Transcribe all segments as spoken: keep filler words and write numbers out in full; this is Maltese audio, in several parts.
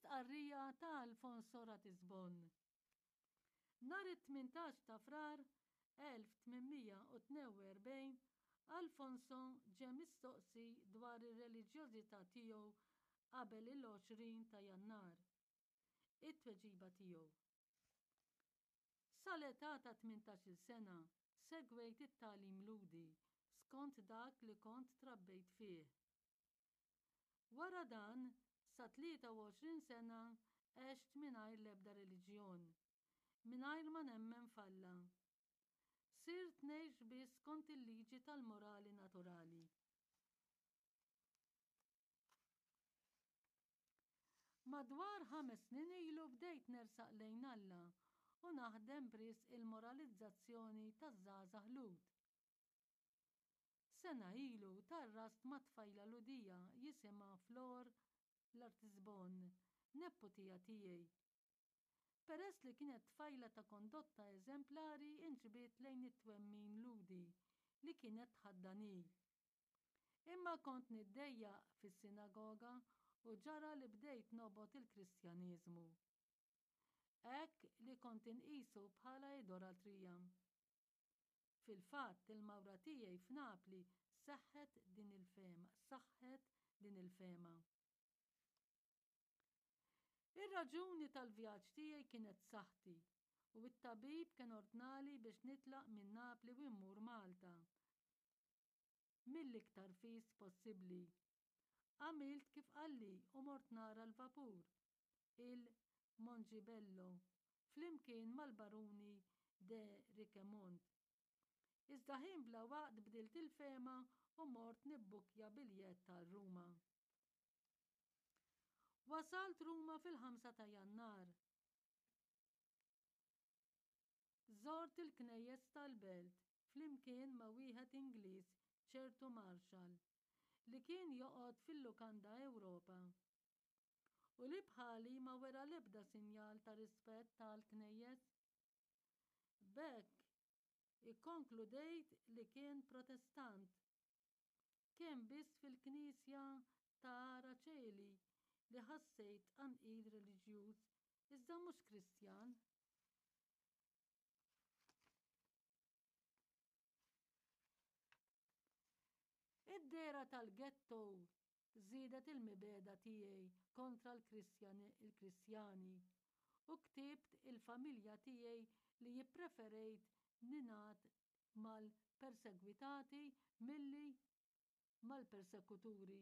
L-istqarrija ta' Alfonso Ratisbonne. Nhar it-tmintax ta' Frar elf tmien mija u tnejn u erbgħin, Alfonso ġie mistoqsi dwar ir-reliġjożità tiegħu qabel il-għoxrin ta' Jannar. It-tweġiba tiegħu: Sal-età ta' tmintax-il sena segwejt it-tagħlim Lhudi skont dak li kont trabbejt fih. Wara dan, sa tlieta u għoxrin sena għext mingħajr l-ebda reliġjon, mingħajr ma nemmen f'Alla. Sirt ngħix biss skont il-liġi tal-morali naturali. Madwar ħames snin ilu bdejt nersaq lejn Alla u naħdem b'risq il-moralizzazzjoni taż-żgħażagħ Lhud. Sena ilu tgħarrast ma' tfajla Lhudija jisimha Flor Lartisbonne, neputija tiegħi. Peress li kienet tfajla ta' kondotta eżemplari inġbiet lejn it-twemmin Lhudi li kienet tħaddan hi. Imma kont niddejjaq fis-sinagoga u ġara li bdejt nobgħod il-Kristjaneżmu. Hekk li kont inqisu bħala idolatrija. Fil-fatt, il-mawra tiegħi f'Napli seħħet din il-fehma, saħħet din il-fehma. Ir-raġuni tal-vjaġġ tiegħi kienet saħħti u t-tabib kien ordnali biex nitlaq minn Napli u mmur Malta mill-iktar fis possibbli. Għamilt kif qalli u mort nara l-vapur, il-Mongibello, flimkien mal-Baruni de Richemont. Iżda ħin bla waqt bdilt il-fehma u mort nibbukkja biljett għal Ruma. Wasalt Ruma fil-ħamsa ta' Jannar. Żort il-knejjes tal-belt flimkien ma' wieħed Ingliż, ċertu Marshall, li kien joqgħod fil-Lukanda Ewropa u li bħali ma wera l-ebda sinjal ta' rispett tal-knejjes. B'hekk ikkonkludejt li kien Protestant. Kien biss fil-knisja ta' Ara Coeli li ħassejt tqanqil reliġjuż, iżda mhux Kristjan. Id-dehra tal-ghetto żiedet il-mibegħda tiegħi kontra l-Kristjani u ktibt il-familja tiegħi li jippreferejt ningħad mal-persegwitati milli mal-persekuturi.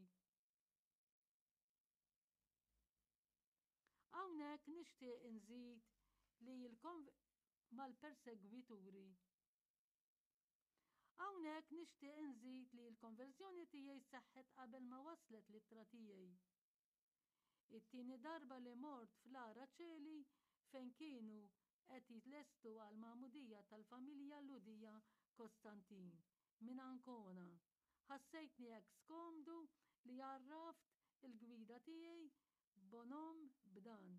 Hawnhekk nixtieq inżid li mal-persegwituri. Hawnhekk nixtieq inżid li l-konverżjoni tiegħi seħħet qabel ma waslet l-ittra tiegħi. It-tieni darba li mort fl-Ara Ċeli fejn kienu qed jitlestu għal magħmudija tal-familja Lhudija Kostantin minn Ancona, ħassejtni hekk skomdu li għarraft il-gwida tiegħi Bonhomme b'dan.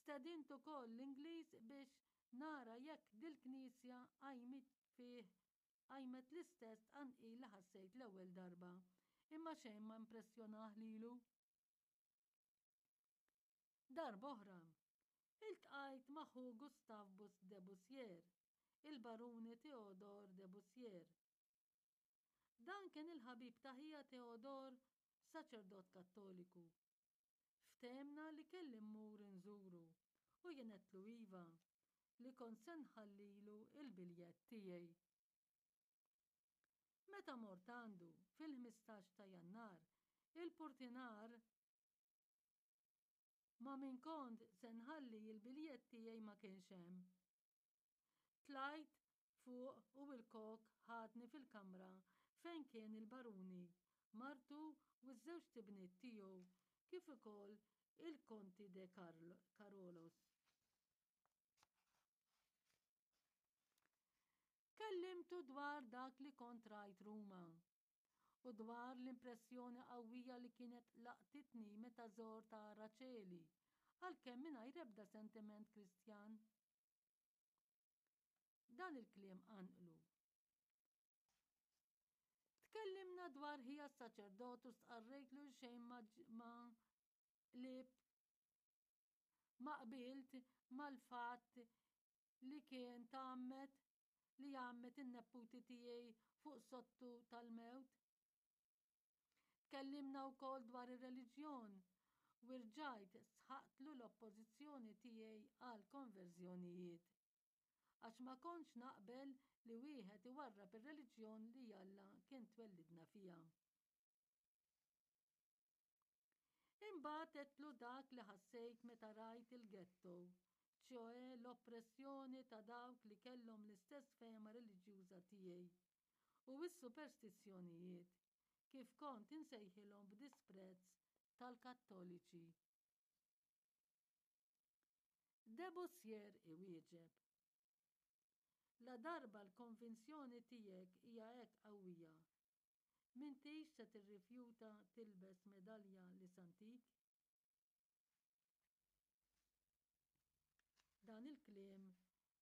Stedint ukoll l-Ingliż biex nara jekk dil-knisja qajmit fih qajmet l-istess tqanqil li ħassejt l-ewwel darba, imma xejn ma impressjonah lilu. Darba oħra, iltqajt ma' ħu Gustave Bus de Bussière, il-Baruni Theodore de Bussière. Dan kien il-ħabib ta' ħija Theodore, saċerdot Kattoliku. Ftehemna li kelli mmur inżuru u jien għedtlu iva, li kont se nħallilu l-biljett tiegħi. Meta mort għandu fil-ħmistax ta' Jannar, il-purtinar ma' min kont se nħalli l-biljett tiegħi ma kienx hemm. Tlajt fuq u l-kok ħadni fil-kamra fejn kien il-baruni, martu u ż-żewġt ibniet tiegħu kif ukoll il-Konti de Carolos. Kellimtu dwar dak li kont rajt Ruma u dwar l-impressjoni qawwija li kienet laqtitni meta żort Ara Coeli, għalkemm mingħajr ebda sentiment Kristjan. Dan il-kliem qanqlu. Tkellimna dwar ħija s-saċerdot u stqarrejtlu xejn ma qlibt ma qbilt mal-fatt li kien tgħammed li għammed in-neputi tiegħi fuq sodtu tal-mewt. Tkellimna wkoll dwar ir-reliġjon u rġajt sħaqtlu l-oppożizzjoni tiegħi għall-konverżjonijiet. Għax ma kontx naqbel li wieħed iwarrab ir-reliġjon li Alla kien twellidna fiha. Imbagħad għedtlu dak li ħassejt meta rajt il-ghetto, ċjoè l-oppressjoni ta' dawk li kellhom l-istess fehma reliġjuża tiegħi, u s-superstizzjonijiet, kif kont insejħilhom b'disprezz, tal-Kattoliċi. Debussier iwieġeb. Ladarba l-konvinzjoni tiegħek hija hekk qawwija, m'intix se tirrifjuta tilbes medalja li sa ntik? Dan il-kliem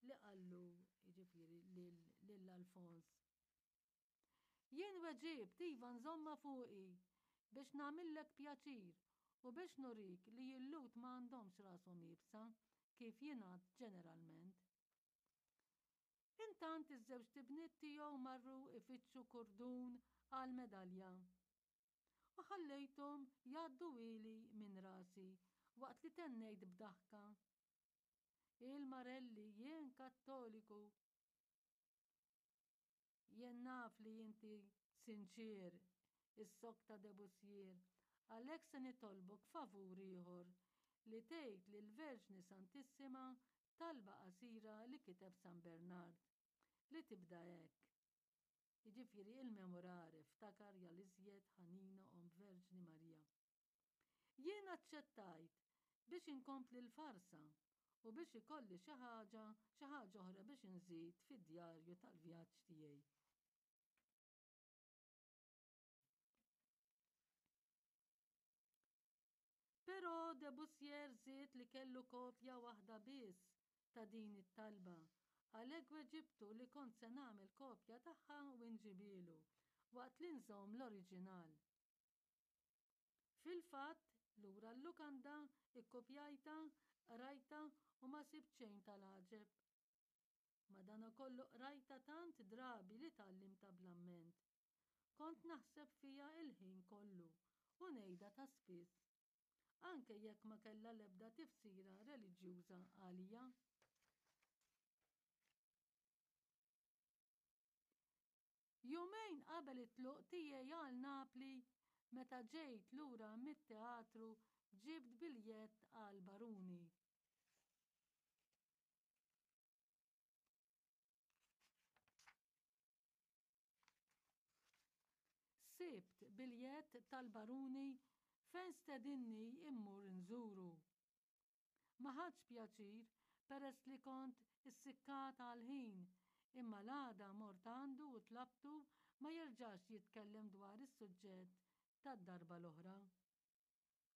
li qallu jiġifieri lil Alfons. Jien weġibt iva nżommha fuqi biex nagħmillek pjaċir u biex nurik li l-Lhud ma għandhomx rashom iebsa kif jingħad ġeneralment. Intant iż-żewġt ibniet tiegħu marru jfittxu kurdun għall-medalja. U ħallejthom jgħadduhieli minn rasi waqt li tennejt b'daħka. Il-Marelli, jien Kattoliku. Jien naf li inti sinċier, issokta Debussier, għalhekk se nitolbok favur ieħor, li tgħid lill-Verġni Santissima talba qasira li kiteb San Bernard, li tibda hekk. Jiġifieri il-Memorare, ftakar ja l-iżjed ħanina Omm Verġni Marija. Jien aċċettajt biex inkompli l-farsa u biex ikolli xi ħaġa, xi ħaġa oħra biex inżid fid-djarju tal-vjaġġ tiegħi. Però Debussier żied li kellu kopja waħda biss ta' din it-talba, għalhekk weġibtu li kont se nagħmel kopja tagħha u nġibhielu, waqt li nżomm l-oriġinal. Fil-fatt, lura l-lukanda, ikkupjajtha, qrajtha u ma sibt xejn tal-għaġeb. Madankollu qrajtha tant drabi li tgħallimtha bl-amment. Kont naħseb fiha l-ħin kollu u ngħidha ta' spiss, anke jekk ma kellha l-ebda tifsira reliġjuża għalija. Jumejn qabel it-tluq tiegħi għal Napli, meta ġejt lura mit-teatru ġibt biljett għal Baruni. Sibt biljett tal-Baruni fejn stedinni immur nżuru. Ma ħadtx pjaċir peress li kont issikkata għall-ħin, imma l-għada mort għandu u tlabtu ma jerġax jitkellem dwar is-suġġett tad-darba l-oħra.